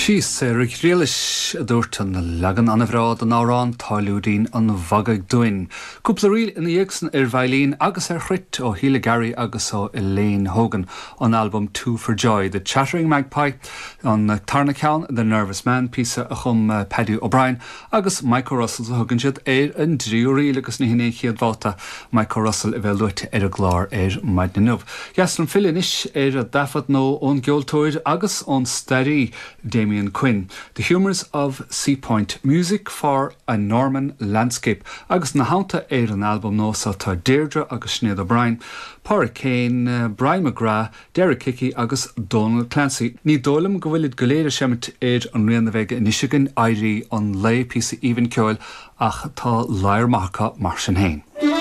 Sí Sarah Ghriallais a dúirt an leagan an-bhreá den amhrán Táilliúirín an Mhagaidh dúinn. Cúpla ríl ina dhiaidh san ar veidhlín agus ar chruit ó Shíle Garry agus ó Elaine Hogan, ón albam Two for Joy, The Chattering Magpie, an tarna ceann, The Nervous Man, píosa a chum Paddy O'Brien agus Mike O'Russell a thugann siad ar an dtríú ríl agus ní hin é an chéad bhabhta Mike O'Russell a bheith luaite ar an gclár ar maidin inniu. Dheas liom filleadh anois ar thaifead nua ón gceoltóir agus ón staraí Damien Quinn, The Humours of Seapoint, Music for a Norman Landscape agus ina theannta ar an albam nua seo tá Deirdre agus Sinéad O'Brien, Pádraig Kane, Brian McGrath, Derek Hickey agus Donal Clancy. Ní dóigh liom go bhfuilid go léir ag seimint ar an rian a bheidh anois againn, Éirí an Lae, píosa aoibhinn ceoil, ach tá ladhar maith acu mar sin féin.